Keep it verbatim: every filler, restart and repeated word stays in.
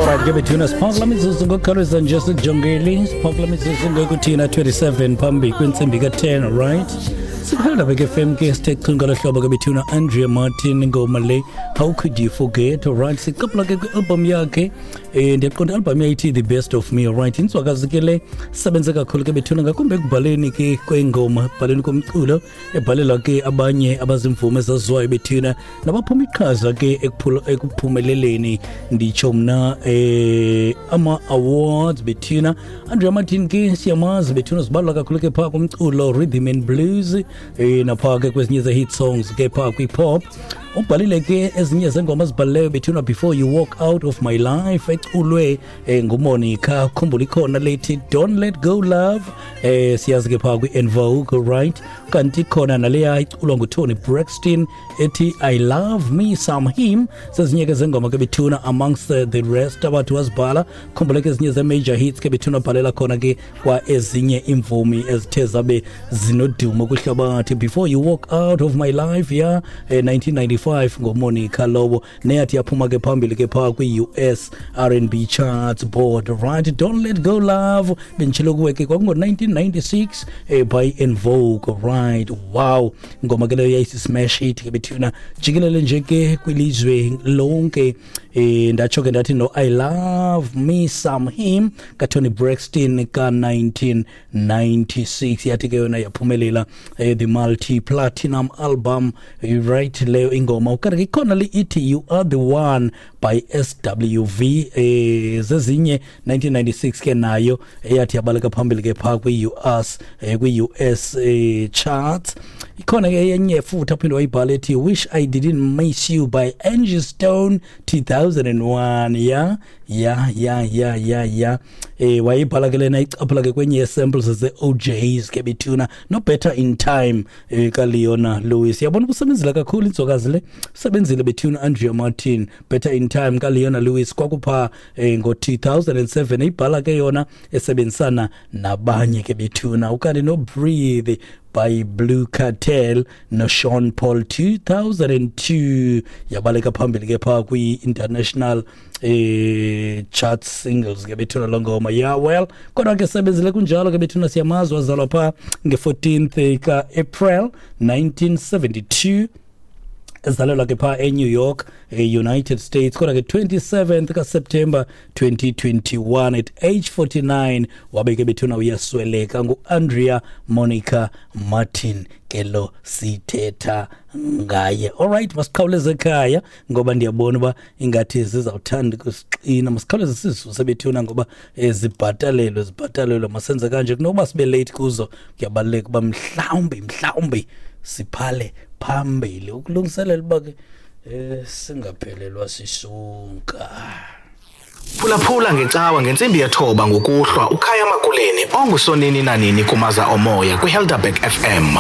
Alright, ke bethuna, siphakula mizuzu ngokukhawuleza nje, sikujongeli, siphakula mizuzu ngokuthina twenty-seven phambi kwentsimbi ka-ten. Right, sikuphelelabek F M ke, sithe chu ngolo hlobo ke bethuna. Andrea Martin, ingoma le "How Could You Forget". Alright, sicaphula ke kwi-album yakhe, eh ndiyaqonda i-album yayithi "The Best of Me". Alright, inzwakazi ke le sebenze kakhulu ke bethuna, ngakumbi ekubhaleni ke kwengoma, ekubhaleni komculo, ebhalela ke abanye abazimvumi ezaziwayo bethuna, nabaphuma iqhaza ke ekuphumeleleni, nditsho mna, eh ama-awards bethuna. Andrea Martin ke siyamazi bethuna, zibalwa kakhulu ke phaa kumculo rhythm and blues, eh naphaa ke kwezinye ze-hit songs ke phaa kwi-pop. Ubhalile ke ezinye zengoma azibhalileyo bethuna, "Before You Walk Out of My Life" eculwe eh, nguMonica. Khumbula ikhona lethi "Don't Let Go Love", eh siyazi ke phaa kwi-En Vogue. Right, kanti khona naleya iculwa nguToni Braxton ethi "I Love Me Some Him". Zezinye ke zengoma ke bethuna, amongst uh, the rest abathi wazibhala. Khumbula ke ezinye ze-major hits ke bethuna, bhalela khona ke kwa ezinye iimvumi ezithe zabe zinodumo kwihlabathi. "Before You Walk Out of My Life" ya eh, nineteen ninety-five ngoMonica lowo, neyathi yaphuma ke phambili ke phaa kwi-U S R and B charts board. Right, "Don't Let Go Love" benditshilo kuwe ke kwakungo-nineteen ninety-six eh, by En Vogue. Right, wow, ingoma ke leyo yayisi-smash hit ke bethuna jikelele nje ke kwilizwe lonke. eh ndatsho ke ndathi no "I Love Me Some Him" kaTony Braxton ka-nineteen ninety-six yathi ke yona yaphumelela eh, the multi platinum album. eh, right leyo ingoma. Ukanti ke ikhona le ithi "You Are the One" by S W V, eh zezinye nineteen ninety-six ke nayo eyathi yabaleka phambili ke phaa kwi-U S eh, kwi-U S eh, charts. Ikhona ke enye futhi aphinde wayibhala ethi "Wish I Didn't Miss You" by Angie Stone, two thousand one. ya ya ya ya ya ya eh wayibhala ke lena, icaphula ke kwenye samples ze-O Js ke bethuna, no "Better in Time" eh kaLeona Lewis. Yabona, kusebenzile kakhulu inzokazi le, usebenzile bethuna Andrea Martin. "Better in Time" kaLeona Lewis kwakupha eh, ngo-two thousand seven, ibhala ke yona esebenzisana nabanye ke bethuna. Ukanti no "Breathe" by Blue Cartel no Sean Paul, two thousand two, yabaleka phambili ke phaa kwi-international eh chart singles ke bethuna lo ngoma. Yeah, well, kodwa ke sebenzile kunjalo ke bethuna. Siyamazi, wazalwa phaa nge-fourteenth ka-April nineteen seventy-two, ezalelwa ke phaa eNew York, e-United States. Kodwa ke twenty-seventh kaSeptember twenty twenty-one at age forty-nine wabe ke bethuna uyasweleka. Ngu-Andrea Monica Martin ke lo sithetha ngaye. Alright, masikhawuleze ekhaya ngoba ndiyabona uba ingathi zizawuthanda ukusixina. Masikhawuleze sizisuse bethuna ngoba eh, zibhatalelwe zibhatalelwe Masenze kanje, kunokuba sibe late kuzo, kuyabaluleka uba mhlawumbi mhlawumbi siphale phambili ukulungiselela uba ke eh singaphelelwa sisonka. Phulaphula ngecawa ngentsimbi yethoba ngokuhlwa uKhaya Makuleni ongusonini nanini kumaza omoya kwiHelderberg F M.